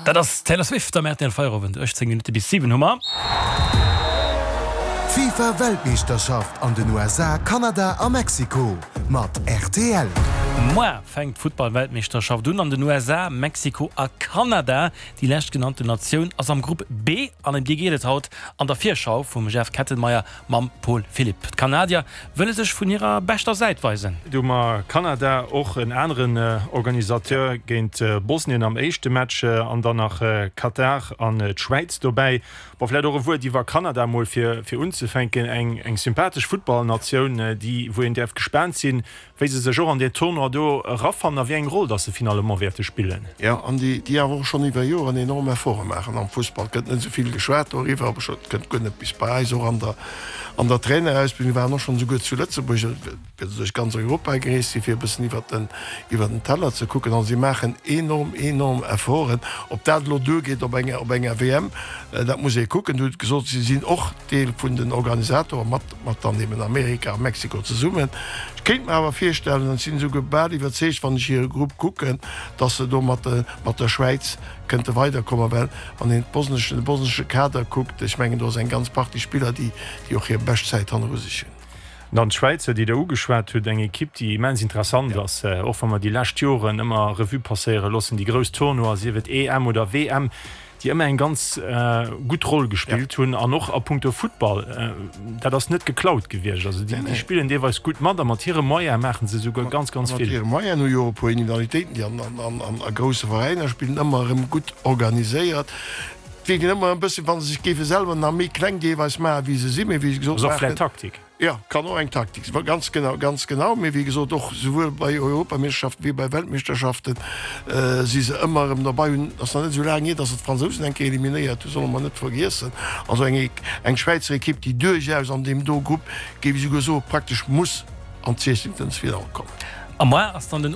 Dat ass d'Taylor Swift am rtl Feierowend. 18 Minutte bis 7 hu mer. D'FIFA Weltmeeschterschaft an den USA, Kanada a Mexiko mat rtl. Moar fänkt d'Futtball-Weltmeeschterschaft un an den USA, Mexiko a Kanada. Déi leschtgenannten Natioun ass am Grupp B an ëm déi geet et haut an der Virschau vum Jeff Kettenmeyer Mam Paul Philipp. D'Kanadier wëlle sech vun hirer beschter Säit weisen. Do hu mer Kanada, och en aneren Organisateur, géint Bosnien am éischte Match an dann nach Katar an d'Schwäiz dobäi. Bon, vläicht och e Wuert iwwer Kanada mol fir unzefänken. Eng sympathesch Futtballnatioun, déi wou een däerf gespaant sinn, wéi se sech och an deen Tournoi do erafannen a wéi eng Roll dass se finalement wäerte spillen. Jo, an déi, déi awer och schonn iwwer Joren enorm Efforte maachen am Fussball. Et gëtt net esou vill geschwat doriwwer, awer scho, et kënnt guer net bis bei eis. Och an der, an der Trainerausbildung waren och schonn esouguer zu Lëtzebuerg, well se duerch ganz Europa gereest sinn, fir e bëssen iwwer den, iwwer den Teller ze kucken. Also si maachen enorm, enorm Efforten. Ob dat elo duergeet op enger, op enger WM, dat muss ee kucken. Du hutt gesot, si sinn och Deel vun den Organisatoren mat. mat dann eben Amerika a Mexiko zesummen. Ech kéint mer awer virstellen, an ech sinn esouguer bal iwwerzeegt, wann ech hire Grupp kucken, dass se do mat mat der Schwäiz kënnte weiderkommen, well wann een d'bosneschen, de bosnesche Kader kuckt, ech mengen do ass eng ganz Partie Spiller, déi déi och hir bescht Zäit hanneru sech hunn. Dann d'Schwäizer, déi Der ugeschwat hutt, eng Ekipp, déi immens interessant ass, och wa mer déi lescht Joren ëmmer Revue passéiere loossen, déi grouss Tournoier, sief et EM oder WM, déi ëmmer eng ganz gutt Roll gespillt hunn an och a punkto Futtball, dat ass net geklaut gewiescht. Also déi spillen deelweis gutt mat a mat hire Moyene maache se esouguer ganz, ganz vill. Mat hire Moyenen hu jo och e puer Individualitéiten, déi an a grousse Veräiner spillen, ëmmer erëm gutt organiséiert. Wierken ëmmer e bëssen, wa se sech géife selwer nach méi kleng deelweis maachen, wéi se sinn, mee wéi gesot, Ass och vläicht Taktik. Jo, kann och eng Taktik sinn, ganz genau, ganz genau. Mee wéi gesot, och souwuel bei Europameeschterschaften wéi bei Weltmeeschterschaften si se ëmmer erëm derbei. Hunn, ass nach net esou laang hier, datt se d'Fransousen eng Kéier eliminéiert hunn, solle mer net vergiessen. Also eng eng Schwäizer Ekipp, déi duerchaus an deem do Grupp, géif ech esouguer soen, praktesch muss an d'Siechzéngtelsfinall kommen. A moar ass dann den.